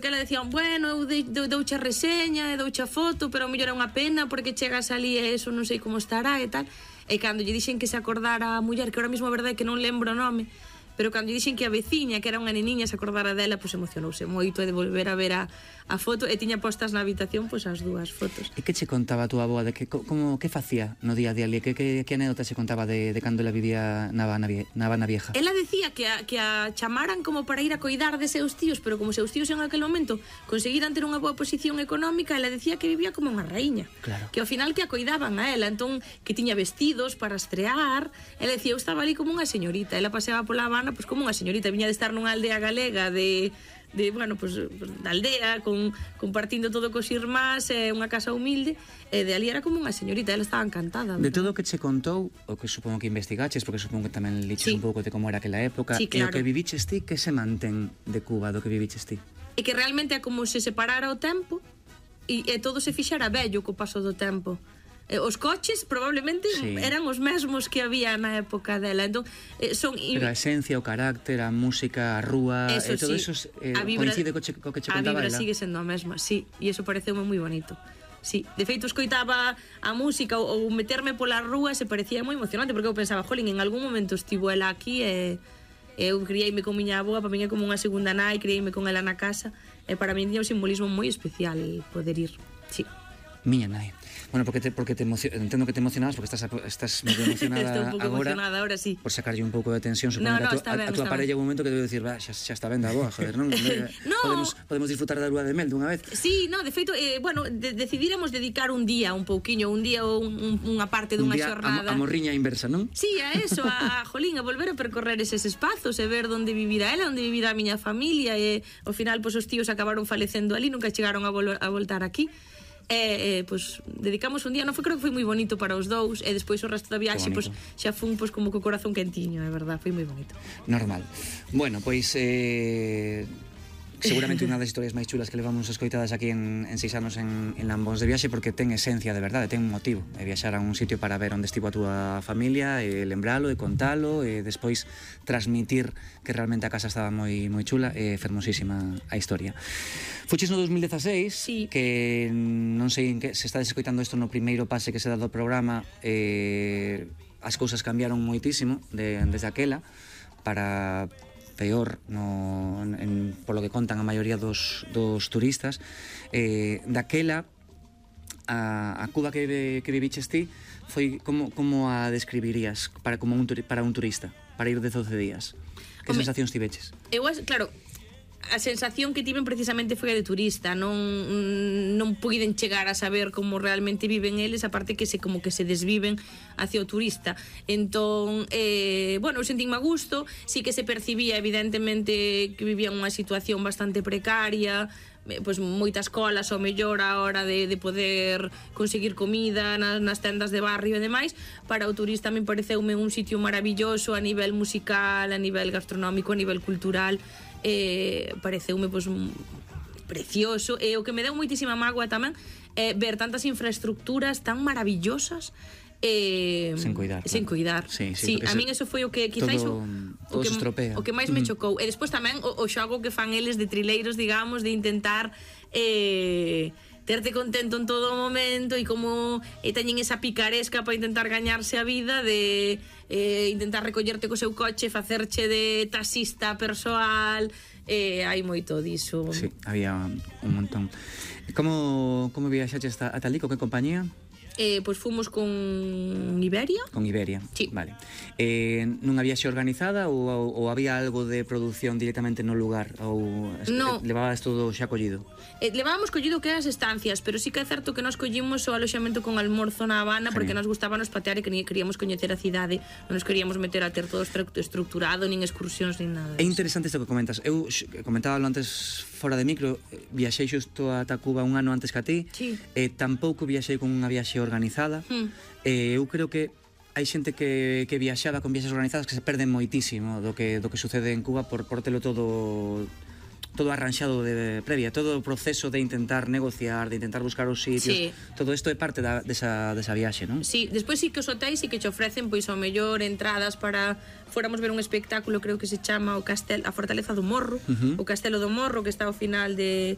Que ela decía, bueno, eu douche a reseña e douche a foto, pero ao mellor é unha pena porque chegas ali e eso non sei como estará e tal. E cando lle dixen que se acordara a muller, que ahora mesmo a verdade é que non lembro o nome, pero cando lle dixen que a veciña, que era unha neniña, se acordara dela, pois emocionouse moito de volver a ver a foto, e tiña postas na habitación pois as dúas fotos. E que che contaba a túa avoa de que facía no día a día ali? Que anécdota se contaba de cando ela vivía na Habana Vieja? Ela decía que a chamaran como para ir a coidar de seus tíos, pero como seus tíos en aquel momento conseguiran ter unha boa posición económica, ela decía que vivía como unha raíña. Claro. Que ao final que a coidaban a ela, entón que tiña vestidos para estrear. Ela decía, eu estaba ali como unha señorita, ela paseaba pola Habana pois como unha señorita, viña de estar nunha aldea galega bueno, pues, da aldea, compartindo todo cos irmás, unha casa humilde, e de ali era como unha señorita, ela estaba encantada. De todo o que che contou, o que supongo que investigaches, porque supongo que tamén liches un pouco de como era aquela época, sí, claro. E o que viviches ti, que se mantén de Cuba do que viviches ti? E que realmente é como se separara o tempo e todo se fixara bello co paso do tempo. Os coches probablemente eran os mesmos que había na época dela. Entón, pero a esencia, o carácter, a música, a rúa, todo eso coincide co que che contaba ela. A vibra sigue sendo a mesma, sí, e iso pareceume moi bonito. Sí, de feito escoitaba a música ou meterme pola rúa se parecía moi emocionante, porque eu pensaba, jolín, en algún momento estivo ela aquí e eu criei-me con miña avoa, para min é como unha segunda nai, criei-me con ela na casa, e para min tiña un simbolismo moi especial poder ir, sí. Miña nai. Bueno, porque entendo que te emocionabas porque estás medio emocionada agora. Estou un pouco emocionada agora, sí. Por sacarlle un pouco de tensión, supoño que a tua parella un momento que debe dicir, xa está ben da boa, joder, non? Podemos disfrutar da lúa de mel dunha vez. Sí, no, de feito, bueno, decidíramos dedicar un día ou unha parte dunha xornada. A morriña inversa, non? Sí, a eso, a jolín, a volver a percorrer eses espazos e ver onde vivira ela, onde vivira a miña familia, e ao final, pois, os tíos acabaron falecendo ali, nunca chegaron a voltar aquí. Pois dedicamos un día, creo que foi moi bonito para os dous, e despois o resto da viaxe pois xa fun pois como co corazón quentiño, é verdad, foi moi bonito. Normal. Bueno, pois seguramente unha das historias máis chulas que levamos escoitadas aquí en 6 anos en Lambóns de Viaxe, porque ten esencia de verdade, ten un motivo, é viaxar a un sitio para ver onde estivo a túa familia, e lembralo, e contalo, e despois transmitir que realmente a casa estaba moi chula, e fermosísima a historia. Fuches no 2016, sí. Que non sei en que se estades escoitando isto no primeiro pase que se dá do programa, as cousas cambiaron moitísimo desde aquela para peor polo que contan a maioría dos turistas. Daquela a Cuba que viviches ti foi como a describirías para un turista, para ir de 12 días? Que sensacións tiveches? Claro, a sensación que tiven precisamente foi a de turista, non puiden chegar a saber como realmente viven eles, aparte que como que se desviven hacia o turista. Entón, bueno, eu sentínme a gusto, sí que se percibía evidentemente que vivían unha situación bastante precaria, pois moitas colas ao mellor a hora de poder conseguir comida nas tendas de barrio e demais. Para o turista me pareceume un sitio maravilloso a nivel musical, a nivel gastronómico, a nivel cultural. Pareceume pois precioso, e o que me deu moitísima mágoa tamén é ver tantas infraestructuras tan maravillosas sen coidar. Sí, a min eso foi o que quizáis todo se estropea. O que máis me chocou. E despois tamén o xogo que fan eles de trileiros, digamos, de intentar terte contento en todo o momento, e como teñen esa picaresca para intentar gañarse a vida, de intentar recollerte co seu coche, facerche de taxista persoal. Hai moito diso. Sí, había un montón. Como viaxaches ata ali, co que compañía? Pois fomos con Iberia. Con Iberia, sí. Vale. Nunha viaxe organizada ou había algo de produción directamente no lugar? Ou no. Levabas todo xa collido? Levábamos collido que as estancias, pero sí que é certo que nos collimos o aloxamento con almorzo na Habana. Genial. Porque nos gustábamos patear e que queríamos coñecer a cidade, non nos queríamos meter a ter todo estructurado, nin excursións, nin nada. É interesante isto que comentas. Eu comentábalo antes fora de micro, viaxei xusto a Cuba un ano antes que a ti. Sí. Tampouco viaxei con unha viaxe organizada. Eu creo que hai xente que viaxaba con viaxes organizadas que se perden moitísimo do que sucede en Cuba por telo todo arranxado de previa, todo o proceso de intentar negociar, de intentar buscar os sitios. Sí. Todo isto é parte desa viaxe, non? Sí, despois sí que os hotéis sí que che ofrecen pois ao mellor entradas para fóramos ver un espectáculo, creo que se chama a Fortaleza do Morro, o Castelo do Morro, que está ao final de